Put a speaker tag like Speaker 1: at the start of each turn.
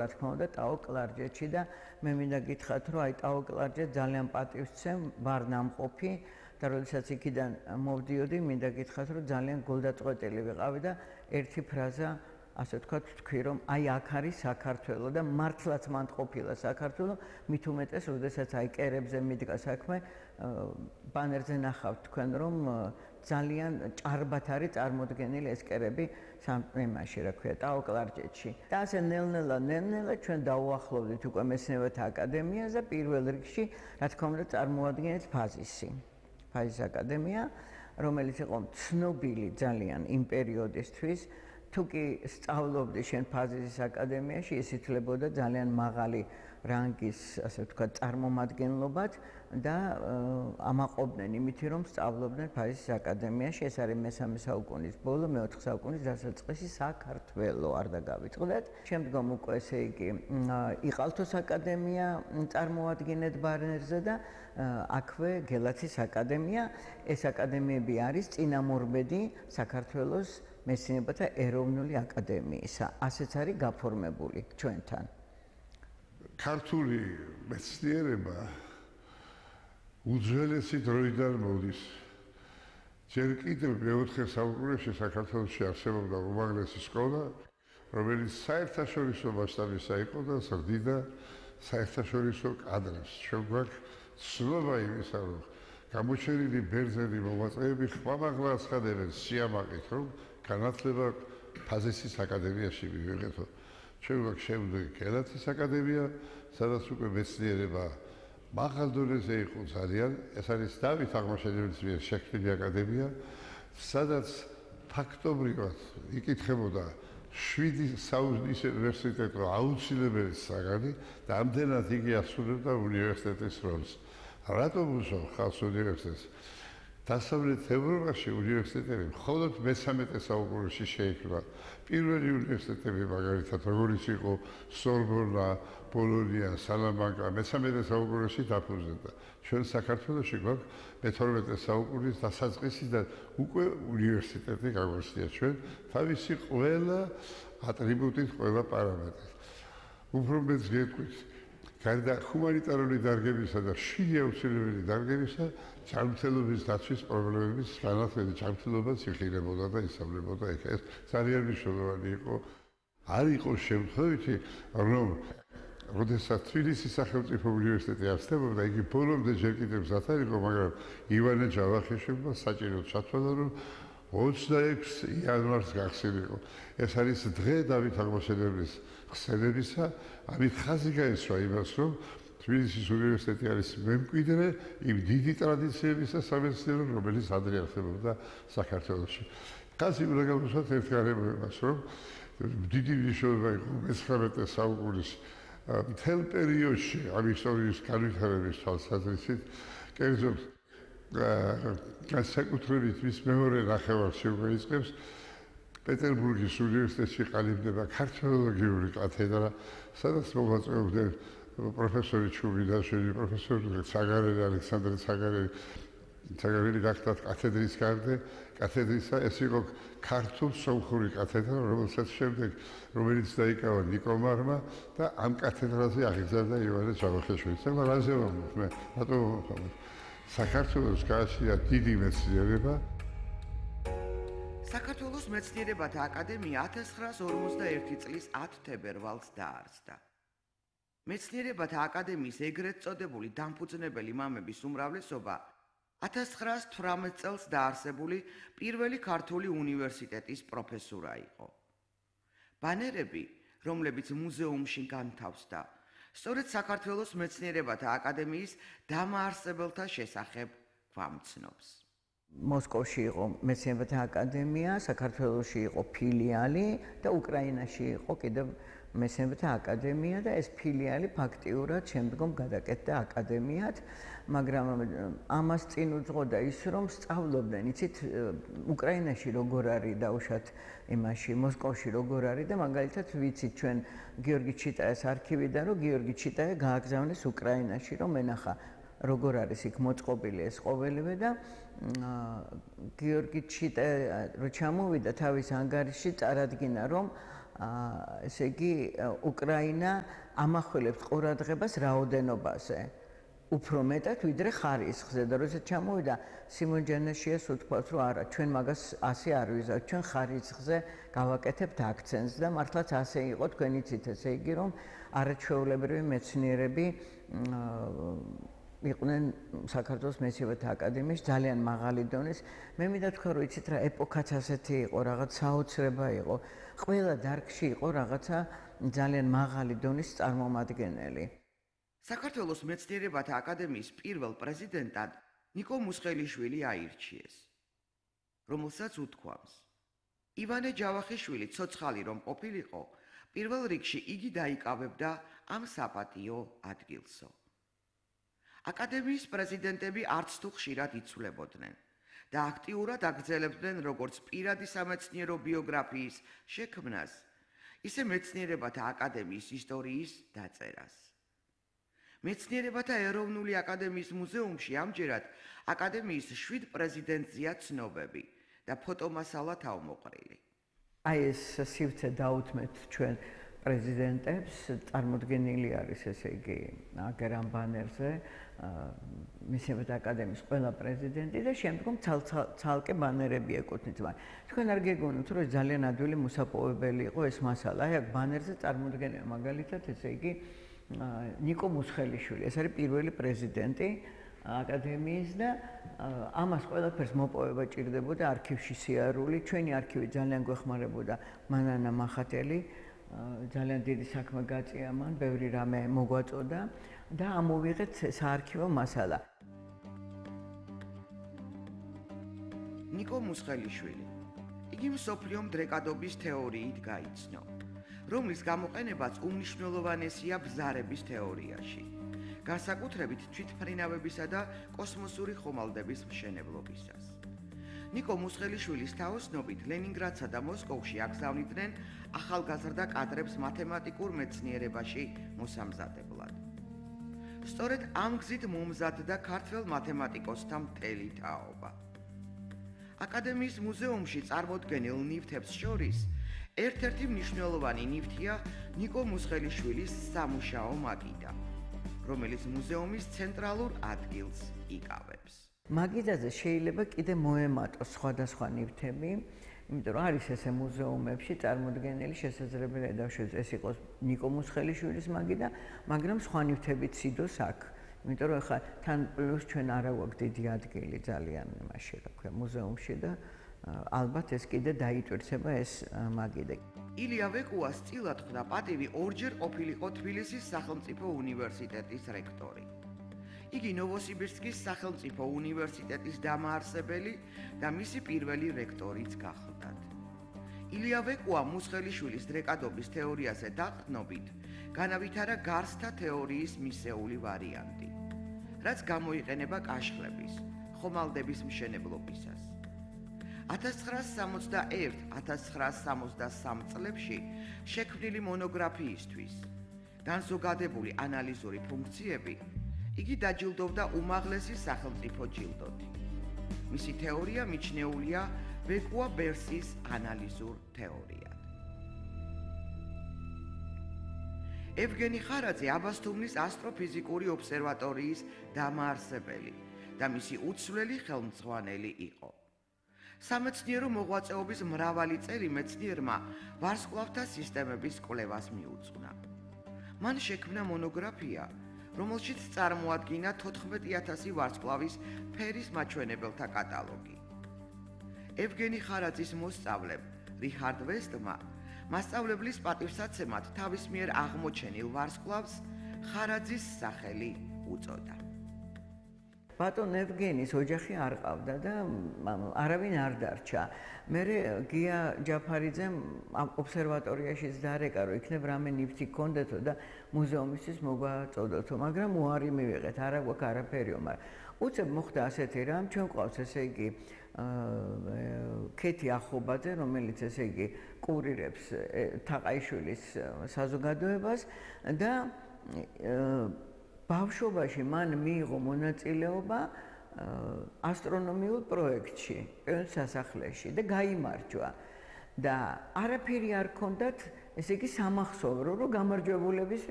Speaker 1: რა თქმა უნდა, ტაო კლარჯეთში და მე მინდა გითხრათ, რომ აი ტაო კლარჯეთს ძალიან პატივს ვცემ, ვარ ნამყოფი და როდესაც იქიდან მოვდიოდი, მინდა გითხრათ, რომ ძალიან გულდაწყვეტილი ვიყავი და ერთი ფრაზა ასე ვთქვათ, თქვი რომ აი აქ არის საქართველო და მართლაც მანდ ყოფილა საქართველო, მით უმეტეს, როდესაც აი კერებზე მიდგა საქმე, ბანერზე ნახავთ თქვენ რომ ძალიან ჭარბად არის წარმოდგენილი ეს კერები იმაში, რა ქვია, ტაო კლარჯეთში. და ასე ნელ-ნელა ჩვენ დავუახლოვდით უკვე მეცნიერებათა აკადემიას და პირველ რიგში, რა თქმა უნდა, წარმოადგენთ ფაზის აკადემია, რომელიც იყო ცნობილი ძალიან იმ პერიოდისთვის. თუ კი სწავლობდი შენ ფაზისის აკადემიაში, ის ითვლებოდა ძალიან მაღალი რანგის, ასე ვთქვათ, წარმომადგენლობად და ამაყობდნენ იმით, რომ სწავლობდნენ ფაზისის აკადემიაში. ეს არის მე-3 საუკუნის ბოლო, მე-4 საუკუნის დასაწყისი საქართველო, არ დაგავიწყდეთ. შემდგომ უკვე ესე იგი იყალთოს აკადემია წარმოადგენთ ბანერზე და აქვე გელათის აკადემია. ეს აკადემიები არის წინამორბედი საქართველოს მეცნიერებათა ეროვნული აკადემიისა. ასეც არის გაფორმებული ჩვენთან.
Speaker 2: ქართული მეცნიერება უძველესი დროიდან მოდის. ჯერ კიდევ მე-4 საუკუნეში საქართველოში არსებობდა უმაღლესი სკოლა, რომელიც საერთაშორისო მასშტაბისა იყო და ზრდიდა საერთაშორისო კადრებს. ჩვენ გვაქვს ცნობა იმისა, რომ გამოჩენილი ბერძენი მოღვაწეები ხმამაღლა აცხადებენ სიამაყით, რომ განათლება ფაზისის აკადემიაში მივიღეთო. ჩვენ გვაქვს შემდეგი გელათის აკადემია, სადაც უკვე მეცნიერება მაღალ დონეზე იყო ძალიან. ეს არის დავით აღმაშენებლის მიერ შექმნილი აკადემია, სადაც ფაქტობრივად იკითხებოდა 7 საუნივერსიტეტო უნივერსიტეტო აუცილებელი საგანი და ამდენად იგი ასრულებდა უნივერსიტეტის როლს. რატომ უშავ ხალხს უნივერსიტეტს? დასავლეთ ევროპაში უნივერსიტეტები მხოლოდ მე-13 საუკუნეში შეიქმნა. პირველი უნივერსიტეტები მაგალითად როგორიც იყო სორბონა, ბოლონია, სალამანკა მე-13 საუკუნეში დაფუძნდა. ჩვენ საქართველოში გვაქვს მე-12 საუკუნის დასაწყისი და უკვე უნივერსიტეტი გაგვაჩნია ჩვენ თავისი ყველა ატრიბუტით, ყველა პარამეტრით. უფრო მეც გეტყვით, გარდა ჰუმანიტარული დარგებისა და შვიდი აუცილებელი დარგებისა, ჯანმრთელობის დაცვის პრობლემების განათლების ჯანმრთელობაც იხილებოდა და ისწავლებოდა იქ. ეს ძალიან მნიშვნელოვანი იყო. არ იყო შემთხვევითი, რომ როდესაც თბილისის სახელმწიფო უნივერსიტეტი არსებობდა, იგი ბოლომდე ჯერ კიდევ მზად არ იყო, მაგრამ ივანე ჯავახიშვილმა საჭიროდ ჩათვალა, რომ 26 იანვარს გახსნილიყო. ეს არის დღე დავით აღმაშენებლის ხსენებისა, ამით ხაზი გაესვა იმას, რომ თბილისის უნივერსიტეტი არის მემკვიდრე იმ დიდი ტრადიციებისა სამეცნიერო, რომელიც ადრე არსებობდა საქართველოში. ხაზი უნდა გავუსვათ ერთგანებებას, რომ დიდი მნიშვნელობა იყო მე-19 საუკუნის მთელ პერიოდში ამ ისტორიის განვითარების თვალსაზრისით, კერძოდ განსაკუთრებით მის მეორე ნახევარში უკვე იწყებს პეტერბურგის უნივერსიტეტში ყალიბდება ქართველოლოგიური კათედრა, სადაც მოღვაწეობდნენ პროფესორი ჩუბინაშვილი, პროფესორი ცაგარელი, ალექსანდრე ცაგარელი გახდათ კათედრის გარდე, კათედრისა ეს იყო ქართულ-სომხური კათედრა, რომელიც დაიკავა ნიკომარმა და ამ კათედრაზე აღიზარდა ივანე ჯავახიშვილი. ეხლა რაზე ვამბობ მე? რატომ ვამბობ? საქართველოს გააჩნია დიდი მეცნიერება.
Speaker 3: საქართველოს მეცნიერებათა აკადემია 1951 წლის 10 თებერვალს დაარსდა. მეცნიერებათა აკადემიის ეგრეთ წოდებული დამფუძნებელი მამების უმრავლესობა 1918 წელს დაარსებული პირველი ქართული უნივერსიტეტის პროფესურა იყო. ბანერები, რომლებიც მუზეუმში განთავსდა, სწორედ საქართველოს მეცნიერებათა აკადემიის დამაარსებელთა შესახებ გვამცნობს.
Speaker 1: მოსკოვში იყო მეცნიერებათა აკადემია, საქართველოში იყო ფილიალი და უკრაინაში იყო კიდევ მეცნიერებათა აკადემია და ეს ფილიალი ფაქტიურად შემდგომ გადაკეთდა აკადემიად, მაგრამ ამას წინ უძღოდა ის, რომ სწავლობდნენ, იცით, უკრაინაში როგორ არის დაუშვათ იმაში, მოსკოვში როგორ არის და მაგალითად ვიცით ჩვენ გიორგი ჩიტაიას არქივიდან, რომ გიორგი ჩიტაია გააგზავნეს უკრაინაში, რომ ენახა როგორ არის იქ მოწყობილი ეს ყოველივე და გიორგი ჩიტაია რო ჩამოვიდა თავის ანგარიშში წარადგინა, რომ ესე იგი უკრაინა ამახვილებს ყურადღებას რაოდენობაზე. უფრო მეტად ვიდრე ხარისხზე და როდესაც ჩამოვიდა სიმონ ჯანაშიას უთქვას რომ არა ჩვენ მაგას ასე არ ვიზავთ ჩვენ ხარისხზე გავაკეთებთ აქცენტს და მართლაც ასე იყო თქვენიცით ესე იგი რომ არაჩვეულებრივი მეცნიერები იყვნენ საქართველოს მეცნიერებათა აკადემიის ძალიან მაღალი დონის მე მინდა თქვა რომ იცით რა ეპოქაც ასეთი იყო რაღაც საოცრება იყო ყველა დარგში იყო რაღაცა ძალიან მაღალი დონის წარმომადგენელი
Speaker 3: საქართველოს მეცნიერებათა აკადემიის პირველ პრეზიდენტად ნიკო მუსხელიშვილი აირჩიეს, რომელსაც უთქვამს. ივანე ჯავახიშვილი ცოცხალი რომ ყოფილიყო, პირველ რიგში იგი დაიკავებდა ამ საპატიო ადგილსო. აკადემიის პრეზიდენტები არც თუ ხშირად იცვლებოდნენ და აქტიურად აგრძელებდნენ როგორც პირადი სამეცნიერო ბიოგრაფიის შექმნას, ისე მეცნიერებათა აკადემიის ისტორიის დაწერას. მეცნიერებათა ეროვნული აკადემიის მუზეუმში ამჯერად აკადემიის 7 პრეზიდენტზეა ცნობები და ფოტომასალა თავმოყრილი.
Speaker 1: აი ეს სივრცე დაუთმეთ ჩვენ პრეზიდენტებს, წარმოდგენილი არის ესე იგი აგერამ ბანერზე მეცნიერებათა აკადემიის ყველა პრეზიდენტი და შემდგომ ცალკე ბანერები ეკუთვნით მათ. თქვენ არ გეგონოთ რომ ძალიან ადვილი მოსაპოვებელი იყო ეს მასალა. აი აქ ბანერზე წარმოდგენია მაგალითად ესე იგი ნიკო მუსხელიშვილი, ეს არის პირველი პრეზიდენტი აკადემიის და ამას ყველაფერს მოპოვება ჭირდებოდა არქივში სიარული. ჩვენი არქივი ძალიან გვეხმარებოდა მანანა მახათელი, ძალიან დიდი საქმე გაწია მან, ბევრი რამე მოგვაწოდა და ამოვიღეთ საარქივო მასალა.
Speaker 3: ნიკო მუსხელიშვილი. იგი მსოფლიო მდრეკადობის თეორიით გაიცნო. რომლის გამოყენებაც უმნიშვნელოვანესია ბზარების თეორიაში, განსაკუთრებით თვითმფრინავებისა და კოსმოსური ხომალდების მშენებლობისას. ნიკო მუსხელიშვილის თაოსნობით ლენინგრადსა და მოსკოვში აგზავნიდნენ ახალგაზრდა კადრებს მათემატიკურ მეცნიერებაში მოსამზადებლად. სწორედ ამ გზით მომზადდა ქართველ მათემატიკოსთა მთელი თაობა. აკადემიის მუზეუმში წარმოდგენილ ნივთებს შორის ერთ-ერთი მნიშვნელოვანი ნივთია ნიკო მუსხელიშვილის სამუშაო მაგიდა, რომელიც მუზეუმის ცენტრალურ ადგილს იკავებს.
Speaker 1: მაგიდაზე შეიძლება კიდე მოემატოს სხვადასხვა ნივთები, იმიტომ რომ არის ესე მუზეუმებში წარმოდგენილი შესაძლებელია დავშვათ ეს იყოს ნიკო მუსხელიშვილის მაგიდა, მაგრამ სხვა ნივთებიც იდოს აქ. იმიტომ რომ ხა თან პლუს ჩვენ არა გვაქვს დიდი ადგილი ძალიან იმაში რა ქვია მუზეუმში და ალბათ ეს კიდე დაიტვირთება ეს მაგიდა.
Speaker 3: ილია ვეკუას წილად ხვდა პატივი ორჯერ ყოფილიყო თბილისის სახელმწიფო უნივერსიტეტის რექტორი. იგი ნოვოსიბირსკის სახელმწიფო უნივერსიტეტის დამაარსებელი და მისი პირველი რექტორიც გახლდათ. ილია ვეკუა მუსხელიშვილის დრეკადობის თეორიაზე დაყრდნობით განავითარა გარსთა თეორიის მისეული ვარიანტი, რაც გამოიყენება კაშხლების, ხომალდების მშენებლობისას. 1961-1963 წლებში შექმნილი მონოგრაფიისთვის განზოგადებული ანალიზური ფუნქციები იგი დაჯილდოვდა უმაღლესი სახელმწიფო ჯილდოთი. მისი თეორია მიჩნეულია ვეკუა-ბერსის ანალიზურ თეორიად. ევგენი ხარაძე აბასთუმნის ასტროფიზიკური ობსერვატორიის დამაარსებელი და მისი უცვლელი ხელმძღვანელი იყო. სამეცნიერო მოღვაწეობის მრავალი წელი მეცნიერმა ვარსკვლავთა სისტემების კვლევას მიუძღვნა. მან შექმნა მონოგრაფია, რომელშიც წარმოადგინა 14,000 ვარსკვლავის ფერის მაჩვენებელთა კატალოგი. ევგენი ხარაძის მოსწავლემ რიხარდ ვესტმა მასწავლებლის პატივსაცემად თავის მიერ აღმოჩენილ ვარსკვლავს ხარაძის სახელი უწოდა.
Speaker 1: ბატონ ევგენის ოჯახი არ ყავდა და არავინ არ დარჩა. მერე გია ჯაფარიძემ ობსერვატორიაშიც დაარეკა, რომ იქნებ რამე ნივთი გქონდეთო და მუზეუმისთვის მოგვაწოდოთო, მაგრამ უარი მივიღეთ, არა გვაქვს არაფერიო, მაგრამ უცებ მოხდა ასეთი რამ, ჩვენ ყავს ესე იგი ქეთი ახობაძე, რომელიც ესე იგი კურირებს თაყაიშვილის საზოგადოებას და ბავშვობაში მან მიიღო მონაწილეობა ასტრონომიულ პროექტში, პიონერ სასახლეში და გაიმარჯვა. და არაფერი არ ქონდათ ესე იგი სამახსოვრო, რომ გამარჯვებულებისთვის